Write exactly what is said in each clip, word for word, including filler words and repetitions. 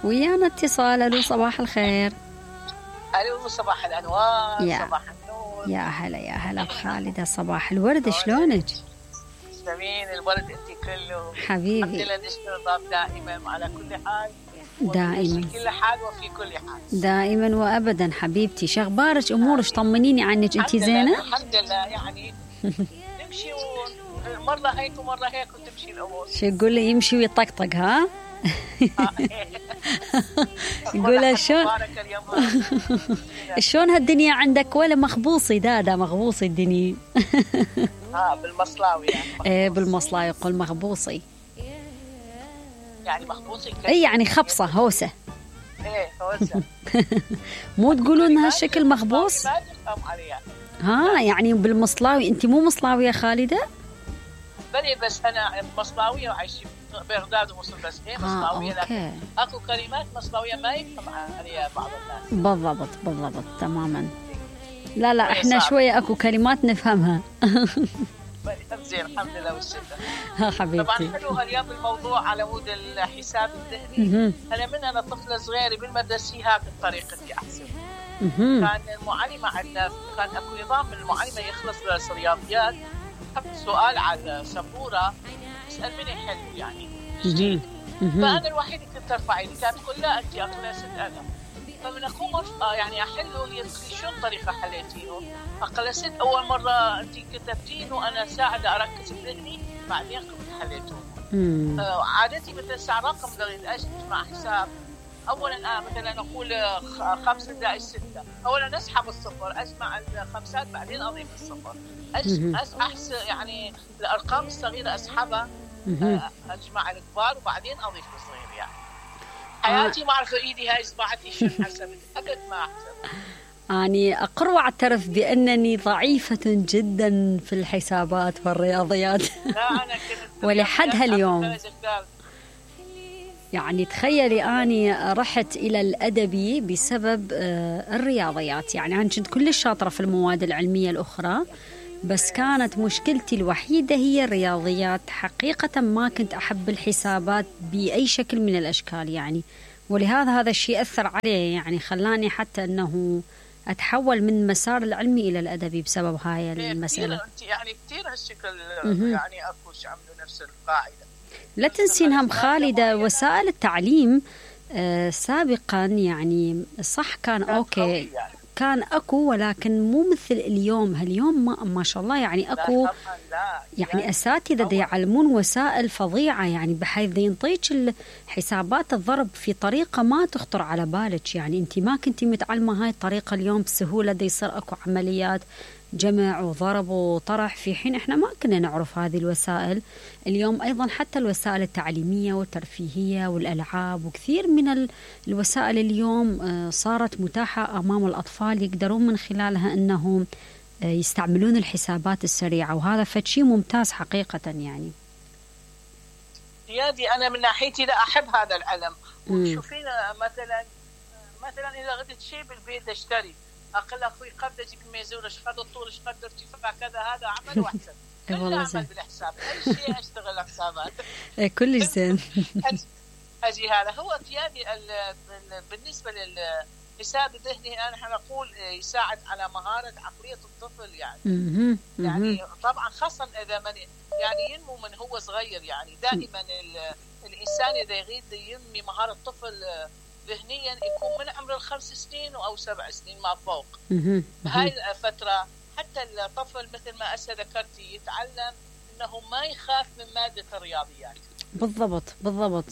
ويانا اتصال. الو صباح الخير. الو صباح الانوار. يا. صباح النور. يا هلا يا هلا بخالدة. صباح الورد. شلونك؟ تسلمين. الورد انت كله حبيبي. الحمد لله. نشكر الله دائما على كل حال. دائما في كل حال وفي كل حال. دائما وابدا حبيبتي. شخبارك امورك؟ طمنيني عنك. انت زينه؟ الحمد لله يعني نمشي مرة هيك ومرة هيك وتمشي الامور. شو يقول لي؟ يمشي ويطقطق. ها يقول شلون شلون هالدنيا عندك؟ ولا مخبوصي دادا؟ مخبوصي الدنيا. اه بالمصلاوي يعني. ايه بالمصلاوي يقول مخبوصي يعني مخبوصي. اي يعني خبصه هوسه. ايه هوسه. مو تقولون هالشكل مخبوص؟ ما تفهم عليها. ها يعني بالمصلاوي. انت مو مصلاويه يا خالده؟ بلي بس انا مصلاويه وعايشين بغداد ومصر بس هي مصلاويه. لكن اكو كلمات مصلاويه ما يفهم عليها بعض الناس. بالضبط بالضبط تماما. لا لا احنا شويه اكو كلمات نفهمها. زين الحمد لله والشكر. ها حبيبتي. طبعا حلو اليوم الموضوع على مود الحساب الذهني. انا من انا طفله صغيره بالمدرسه هاك بطريقتي احسن. كان المعلمه عندنا كان اكو نظام من المعلمه يخلص درس رياضيات حط سؤال على السبوره يسال من يحل يعني جديد. فانا الوحيده كنت ارفع ايدي. كانت تقول لا انت اقول ست انا. فمن اقوم ارفع يعني احله هي تقول شلون طريقه حليتينه؟ اقول ست اول مره انت كتبتينه وانا ساعده اركز بذهني بعدين قمت حليته. آه عادتي مثلا ساعه رقم قريت اجمع حساب. اولا آه مثلا اقول خمسه زائد سته. اولا اسحب الصفر اجمع الخمسات بعدين اضيف الصفر. احس يعني الارقام الصغيره اسحبها اجمع الكبار وبعدين اضيف الصغير. يعني حياتي ما اعرف ايدي هاي اصبعتي شو حسبت ابد ما احسب. اني اقر واعترف بانني ضعيفه جدا في الحسابات والرياضيات. لا انا كنت ولحد هاليوم يعني تخيلي اني رحت الى الادبي بسبب الرياضيات. يعني انا كنت كلش شاطره في المواد العلميه الاخرى بس كانت مشكلتي الوحيدة هي الرياضيات. حقيقة ما كنت أحب الحسابات بأي شكل من الأشكال يعني. ولهذا هذا الشيء أثر علي يعني خلاني حتى أنه أتحول من مسار العلمي إلى الأدبي بسبب هاي المسألة. يعني كثير هالشكل يعني أكوش عملوا نفس القاعدة. لا تنسين هم خالدة وسائل التعليم آه سابقا يعني صح كان أوكي يعني. كان أكو ولكن مو مثل اليوم. هاليوم ما, ما شاء الله يعني أكو يعني أساتذة يعلمون وسائل فظيعة يعني بحيث ينطيك حسابات الضرب في طريقة ما تخطر على بالك. يعني أنت ما كنتي متعلمة هاي الطريقة اليوم بسهولة دي يصير أكو عمليات جمع وضرب وطرح في حين إحنا ما كنا نعرف هذه الوسائل. اليوم أيضا حتى الوسائل التعليمية والترفيهية والألعاب وكثير من الوسائل اليوم صارت متاحة أمام الأطفال يقدرون من خلالها أنهم يستعملون الحسابات السريعة وهذا فشي ممتاز حقيقة. يعني سيادي أنا من ناحيتي لا أحب هذا العلم. وشوفينا مثلا مثلا إذا غدت شيء بالبيت اشتري أقل أخوي قد أجيب الميزور إيش قد الطول إيش قد ارتفاع كذا هذا عمل واحسن. كل أعمل بالحساب أي شيء أشتغل حسابات. كلش زين. أجي هذا هو سيادي بالنسبة للحساب الذهني أنا نقول يساعد على مهارة عقلية الطفل يعني. يعني طبعا خاصة إذا من يعني ينمو من هو صغير. يعني دائما الإنسان إذا يريد ينمي مهارة الطفل ذهنيا يكون من عمر الخمس سنين أو سبع سنين ما فوق. بهاي الفترة حتى الطفل مثل ما أسا ذكرتي يتعلم أنه ما يخاف من مادة الرياضيات. بالضبط بالضبط.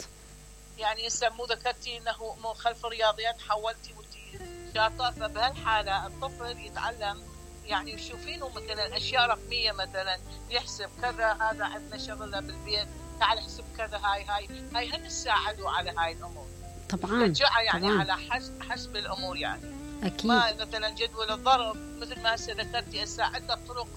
يعني يسمو ذكرتي أنه من خلف الرياضيات حولتي وتي شاطر. فبهالحالة الطفل يتعلم يعني يشوفينه مثلا أشياء رقمية مثلا يحسب كذا هذا عندنا شغلة بالبيت تعال احسب كذا هاي هاي هاي هن تساعدوا على هاي الأمور. طبعا يعني طبعاً. على حسب حسب الامور يعني. اكيد. ما مثلا جدول الضرب مثل ما هسه ذكرتي هسه عده طرق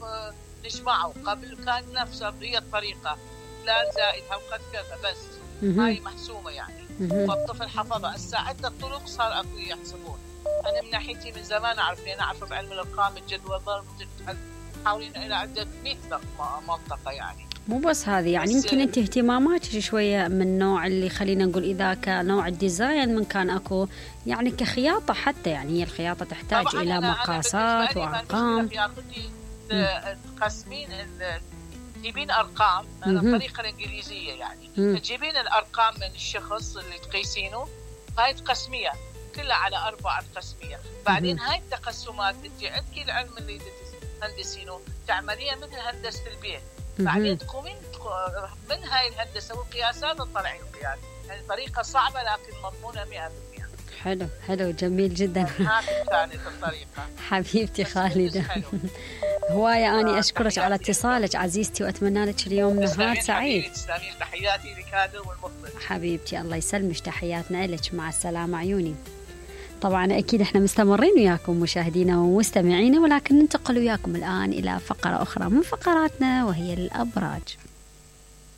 نجمعه. قبل كان نفسها هي الطريقه لا زائد او قد كذا بس هاي محسومه يعني. والطفل حفظها. هسه عده طرق صار اكو يحسبون. انا من ناحيتي من زمان اعرف لان اعرف بعلم الارقام الجدول الضرب حاولين الى عده مئة منطقه يعني. مو بس هذه يعني يمكن انت اهتماماتك شويه من نوع اللي خلينا نقول اذا كنوع الديزاين من كان اكو يعني كخياطه حتى يعني هي الخياطه تحتاج الى أنا مقاسات أنا وارقام. تقسمين تجيبين ارقام الطريقه الانجليزيه يعني م. تجيبين الارقام من الشخص اللي تقيسينه هاي تقسميها كلها على اربعه تقسميها بعدين م. هاي التقسمات انت عندك العلم اللي تهندسينه تعمليها مثل هندسه البيت م. بعدين تقومين من هاي الهندسه والقياسات تطلعين القياس يعني طريقه صعبه لكن مضمونه مئة بالمئة. حلو حلو جميل جدا. هذه كانت الطريقه حبيبتي خالده. هواية أني أشكرك على اتصالك عزيزتي وأتمنى لك اليوم نهار سعيد. تسلمين تحياتي لك هذا والمخلص. حبيبتي الله يسلمك تحياتنا لك مع السلامة عيوني. طبعا أكيد إحنا مستمرين وياكم مشاهدينا ومستمعينا ولكن ننتقل وياكم الآن إلى فقرة أخرى من فقراتنا وهي الأبراج.